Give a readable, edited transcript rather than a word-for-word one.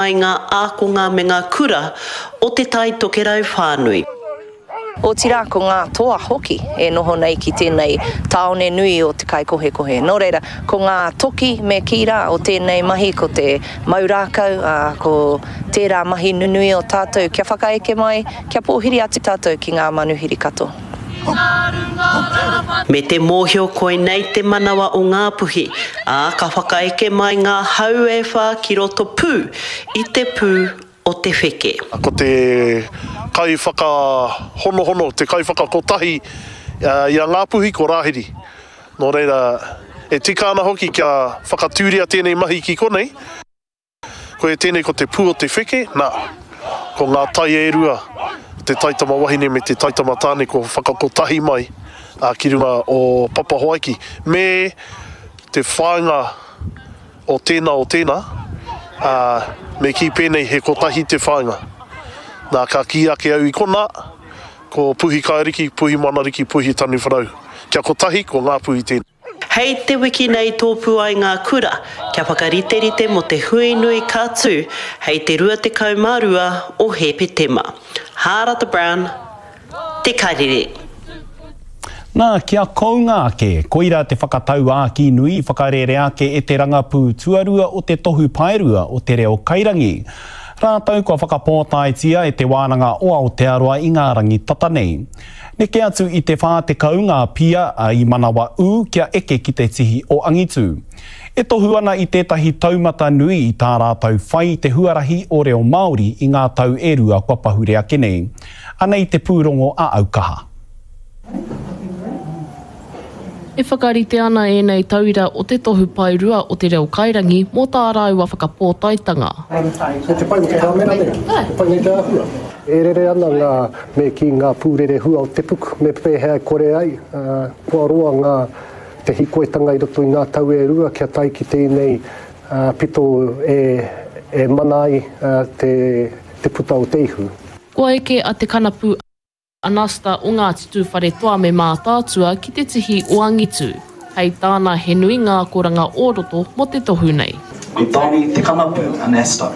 Ai ngā ākonga me ngā kura o Te Tai Tokerau whānui. Otirā ko ngā toa hoki e noho nei ki tēnei tāone nui o te kaikohekohe. Nō reira, ko ngā toki me kī rā o tēnei mahi ko te mau rākau, ā, ko tērā mahi nunui o tātou kia whakaeke mai, kia pōhiri atu tātou ki ngā manuhiri katoa. Me te mōhio koinei te manawa o Ngāpuhi, ā, ka whakaeke mai ngā hau e whā ki roto pū i te pū o te wheke. Ko te kaiwhakahonohono, te kaiwhakakotahi i a Ngāpuhi ko Rāhiri. Nō reira, e tika ana hoki kia whakatūria tēnei mahi ki konei. Koia tēnei ko te pū o te wheke, nā, ko ngā tai e rua, te taitama wahine me te taitama tāne kua whakakotahi mai ki runga o Papahoaiki, me te whāinga o tēnā o tēnā, ā, me kī pēnei he kotahi te whāinga. Nā, ka kī ake au i konā, ko Puhi Kairiki, Puhi Manariki, Puhi Taniwharau. Kia kotahi, ko Ngāpuhi tēnei. Hei te wiki nei tōpū ai ngā kura kia whakariterite mō te hui nui ka tū hei te 22 o Hēpetema. Hārata Brown, Te Karere. Nā, kia kounga ake, koirā te whakatauākī nui i whakarērea ake e te rangapū tuarua o te Tohu Paerua o Te Reo Kairangi. Rātou kua whakapōtaetia e Te Wānanga o Aotearoa i ngā rangi tata nei. Neke atu i te 40 ngā pia i manawa ū kia eke ki te tihi o angitu. E tohu ana i tētahi taumata nui i tā rātou whai i te huarahi o reo Māori i ngā tau e rua kua pahure ake nei. Anei te pūrongo a Aukaha. E whakarite ana ēnei tauira o te tohu paerua o te reo kairangi mō tā rāua whakapōtaetanga. Kei te pai me te hāmera nei, te pai nei te āhua. E rere ana ngā, me kī, ngā pūrerehua o te puku, me pēhea e kore ai, kua roa ngā, te hīkoitanga i roto i ngā tau e rua kia tae ki tēnei pito e, e mana ai te, te puta o te ihu. Kua eke a Te Kanapu Anasta o Ngāti Tūwharetoa me Mātaatua ki te tihi o angitu. Hei tāna he nui ngā akoranga o roto mō te tohu nei. Ko Donny Te Kanapu Anasta.